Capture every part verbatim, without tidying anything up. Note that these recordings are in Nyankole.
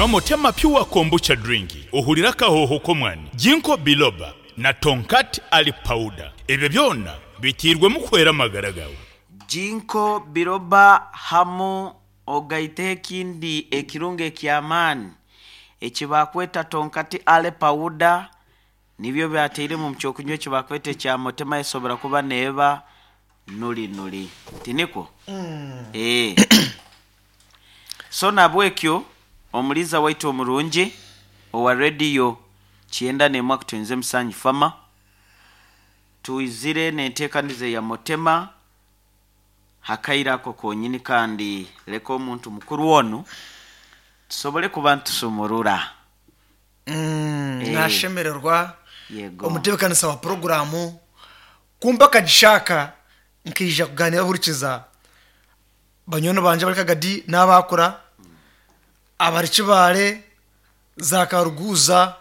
Nywa Motema Pure Kombucha Drink ohurire akahooho k'omwani, Ginkgo Biloba na Tongkat Ali Powder. Ebyo byona biteirwemu kuhwera amagara gaawe. Ginkgo Biloba hamu ogaiteho ekindi ekirungo eky'amaani eki baakweta Tongkat Ali Powder nibyo byateiremu omu kyokunywa eki baakweta ekya Motema esobora kuba neeba nuri nuri. Tinikwo? Ee. So nahabwekyo omuriisa waitu omurungi owa rediyo kyenda n'emwe akutuhinza emusanju fama, twizire n'enteekaniza eya Motema hakaire ako konyini kandi leka omuntu mukuru onu tusobole kuba nitusumurura. Mm, Eh. Nashemererwa Yego. omutebekanisa wa poroguramu kumpa akagishaka nkaija kuganira hurikiza banywani bangye abari Kagadi n'abakura abari Kibaale za Karuguza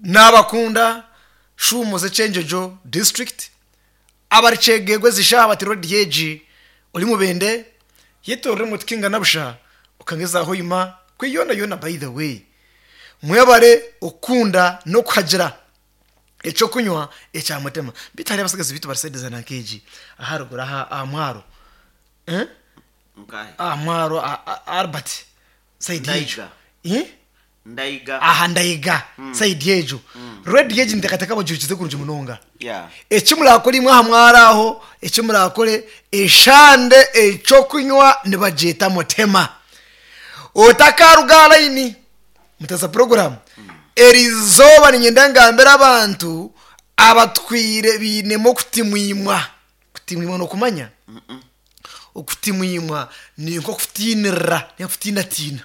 n'abakunda Shuumo z'Ekyenjojo district abari Kyegegwa ezishaha bati rediyo egi ori Mubende yetorora emotoka engana busha okangeza Hoima kwe yoona yoona. By the way, mwebare okukunda n'okuhagira ekyokunywa ekya Mutema. Bitu hariyo abasigazi bitu barisedeza nankeegi aharuguru aha aha mwaro. Eh? Nkahe? Aha mwaro a- a- Albert side egyo. Ndaiga. Eh? Ndaiga. Aha Ndaiga side egyo rediyo egi ntekateka bagirikize kurungi munonga. Yeah. Eki murakore imwe aha mwaro aho, eki murakore eshande ekyokunywa nibagyeta Mutema. Otakaruga aha layini mutaza poroguramu erizooba, niinyenda ngambire abantu abatwire biinemu okutimwimwa. Kutimwimwa n'okumanya okutimwimwa ni nk'okutiinirira, n'okutiinatiina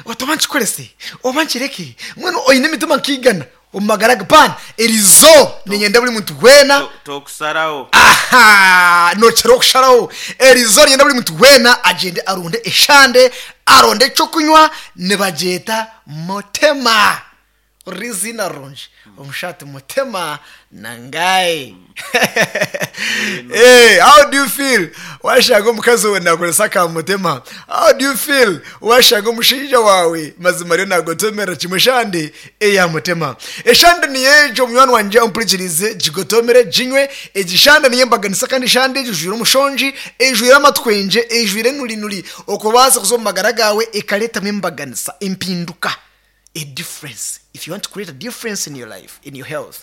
oti oba nkikorese oba nkireke. Mbwenu oine emitima nkaigana omu magara ge paana erizooba niinyenda buri muntu weena To- Tokusaraho. Aha nokira okusharaho. Erizooba niinyenda buri muntu weena agyende arunde eshande, aronde ekyokunywa nibagyeta Mutema. Riziina rirungi omushati Mutema nangaye. Hey, how do you feel washanga omukazi wawe nakoresa aka Mutema? How do you feel washanga omushaija wawe mazima ariyo nagotomera kimwe shande eya Mutema? Eshande niyo egyo, munywani wangye ompurikirize, gigotomere ginywe. Egi shande niyo embaganisa kandi shande egi ejwire omushongi, ejwire amatwengye, ejwire enurinuri okubaasa kuza omu magara gaawe ekareetamu embaganisa, empinduka, a difference. If you want to create a difference in your life, in your health,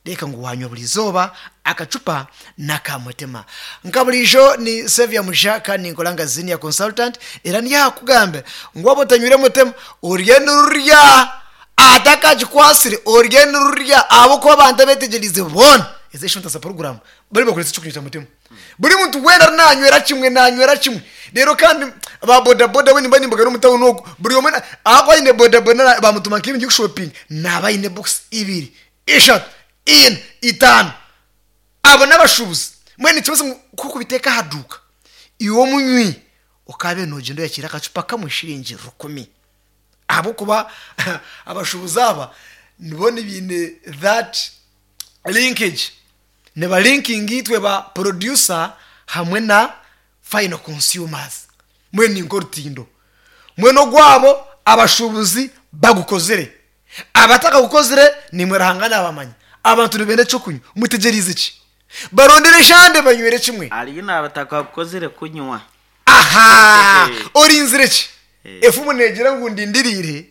reka ngu wanywa buri izooba akacupa n'aka Mutema. Nka burijo ni Sevia Musha kandi ninkora nka senior consultant, era niyakugambira ngu waba otanywire Mutema orye nirurya atakagikwasire, orye nirurya ahabw'okuba abantu abetegyereize boona ezi eshonta za poroguramu bari bakoresa ekyokunywa kya Mutema. Buri muntu weena ari nanywera kimwe, nanywera kimwe rero. Kandi ba bodaboda we nimba nimbagana omu tawuni ogu buri omwe na- ahakuba aine bodaboda bamutuma nk'ebintu by'okushopinga naaba aine box ibiri, ishatu, ina, itaano. Abo n'abashuubuzi. Mbwenu nikibaasa ngu kukubiteeka aha duuka iwe omunywi okabe nogyenda oyakira akacupa kamwe shiringi rukumi ahabw'okuba abashuubuzi aba nibo nibiine that linkage, niba linking itwe ba producer hamwe na final consumers. Mbwenu ni nk'orutindo mbwenu ogwabo abashuubuzi bagukozire, abatakagukozire nimwe Ruhanga nabamanya. Abantu nibenda ekyokunywa, mutegyereize ki? Barondere eshande banywere kimwe. Hariyo n'abatakakukozire kunywa. Aha, orinzire ki? Eh. Efumu negira ngu ndindiriire.